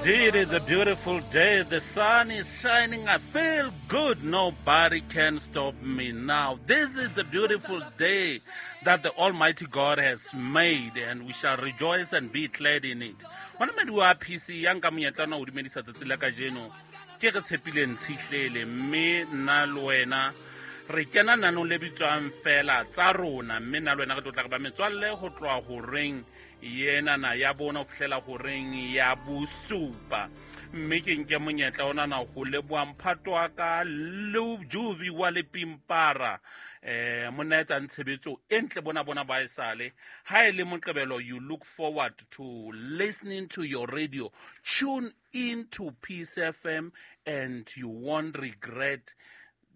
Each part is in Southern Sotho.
Indeed, it's a beautiful day. The sun is shining. I feel good. Nobody can stop me now. This is the beautiful day that the Almighty God has made, and we shall rejoice and be glad in it. Hona madi wa PC ya nka monyetla ona ho dumedisa tsatsi la kajeno ke re tshepileng tshihlele mme nna le wena re kena nanong le bitswang fela tsa rona mme nna le wena re tlo tla re ba metswalle ho tloha horeng yenana ya bona ho fihlela horeng ya bosupa mme ke nke monyetla onana ho leboha mphato wa ka le juvi wa lepimpara monna etsang tshebetso e ntle bona bona ba esale ha e le moqebelo. You look forward to listening to your radio. Tune into Peace FM and you won't regret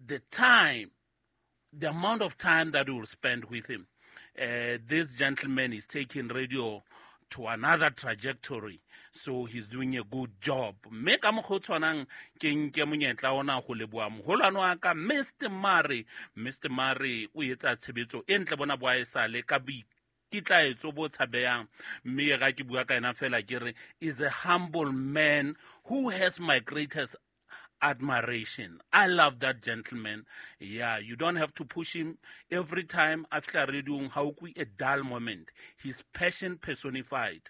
the time, the amount of time that you will spend with him. This gentleman is taking radio to another trajectory, so he's doing a good job. Mme ka mokgwa o tshwanang ke nke monyetla ona go leboa moholwane wa ka Mr Mare. Mr Mare o etsa tshebetso e ntle bona bo a esale ka boikitlaetso bo tshabeyang, mme ga ke bua ka ena fela ke re is a humble man who has my greatest admiration. I love that gentleman. Yeah, you don't have to push him every time after radio ha o kwe a dull moment. His passion personified.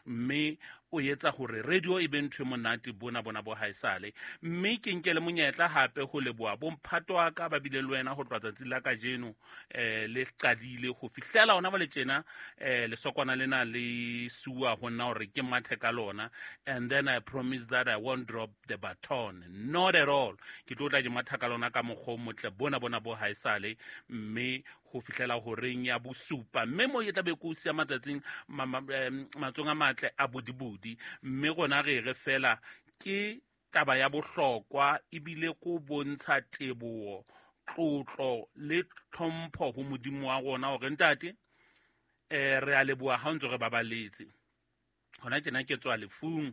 Mme o etsa hore radio e be ntho e monate bona bona bo haesale. Mme ke nke le monyetla hape ho leboha bomphato wa ka ba bile le wena ho tloha tsatsi la kajeno le qadile ho fihlela hona jwale tjena, lesokwana lena le suwa ho nna hore ke mathe ka lona, and then I promise that I won't drop the baton, not at all. Ke tlo tla ke matha ka lona ka mokgwa o motle bona bona bo haesale mme ho fihlela horeng ya bosupa, mme mo e tla be ko siya matsatsing matsong a matle a bodibodi. Mme rona re re fela ke taba ya bohlokwa ebile ko bontsha teboho, tlotlo le tlhompho ho Modimo wa rona hore ntate, re a leboha ha o ntso re babaletse. Hona tjena ke tswa lefung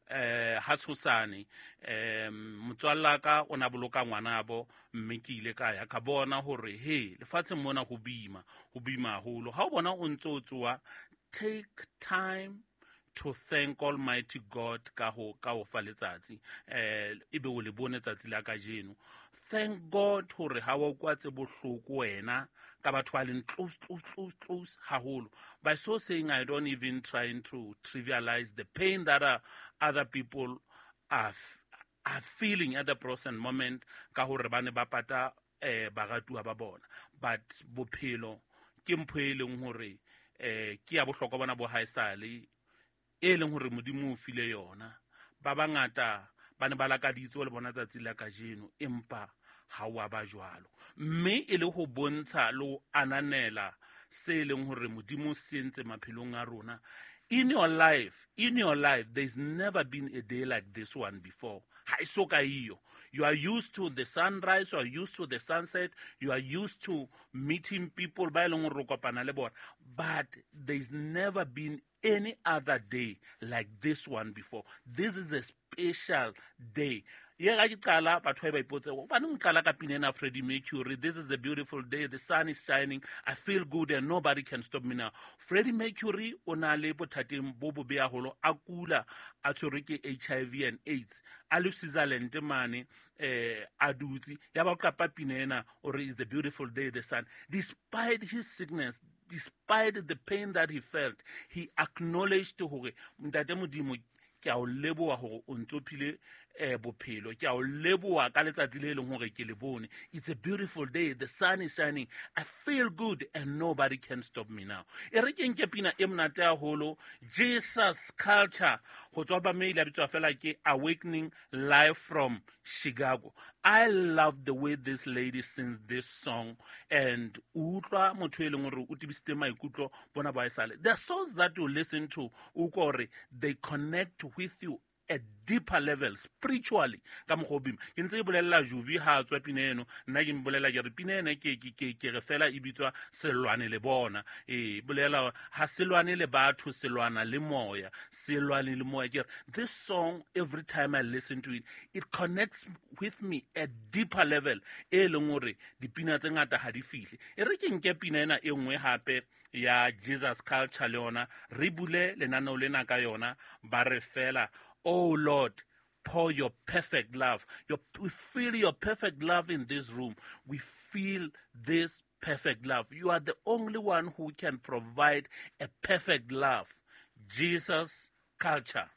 ha tshosane, motswalla ka o na boloka ngwanabo, mme ke ile ka ya ka bona hore he lefatsheng mona ho boima, ho boima haholo. Ha o bona o ntso o tsoa, take time to thank Almighty God ka ho fa letsatsi, ebe o le bone tsatsi la kajeno. Thank God hore ha wa kwa tse bohloko wena ka batho ba leng close, close, close, close haholo. By so saying, I don't even trying to trivialize the pain that other people are feeling at the present moment ka hore ba ne ba pata baratuwa ba bona, but bophelo ke mpho e leng hore ke ya bohlokwa bona bo haesale e leng hore Modimo o file yona. Ba bangata ba ne ba lakaditse le bona tsatsi la kajeno, empa ha wa ba jwalo, mme e le ho bontsha le ho ananela se e leng hore Modimo se entse maphelong a rona. In your life, in your life, there's never been a day like this one before. Ha e so ka iyo. You are used to the sunrise, you are used to the sunset, you are used to meeting people ba e leng hore o kopana le bona, but there's never been any other day like this one before. This is a special day. Ye ga ke qala batho ba ipotse hobaneng o qala ka pina ena Freddie Mercury, "This is the beautiful day, the sun is shining, I feel good and nobody can stop me now." Freddie Mercury o na le bothateng bo bobe haholo, a kula, a tshwerwe ke HIV and AIDS, a le Switzerland mane, a dutse ya ba o qapa pina ena o re is the beautiful day, the sun. Despite his sickness, despite the pain that he felt, he acknowledged hore ntate Modimo, ke a o leboha hore o ntso phile bophelo, ke a o leboha ka letsatsi le leng hore ke le bone. It's a beautiful day, the sun is shining, I feel good and nobody can stop me now. E re ke nke pina e monate haholo, Jesus Culture, ho tswa ba mail a bitswa fela ke Awakening, live from Chicago. I love the way this lady sings this song, and o utlwa motho e leng hore o tebisitse maikutlo bona ba esale. The songs that you listen to, o utlwa hore they connect with you at deeper level spiritually ka mokgwa o boima. Ke ntse ke bolelela Juvi ha a tswa pina eno, nna ke mmolela ke re pina ena ke re fela e bitswa Selwane le bona. Ee, bolela ha selwane le batho, selwana le moya, selwane le moya. Ke re this song, every time I listen to it, it connects with me at deeper level e leng hore dipina tse ngata ha di fihle. E re ke nke pina ena e nngwe hape. Ya Jesus Culture le yona re bule lenaneo lena ka yona, ba re fela, "Oh Lord, pour your perfect love." We feel your perfect love in this room. We feel this perfect love. You are the only one who can provide a perfect love. Jesus Culture.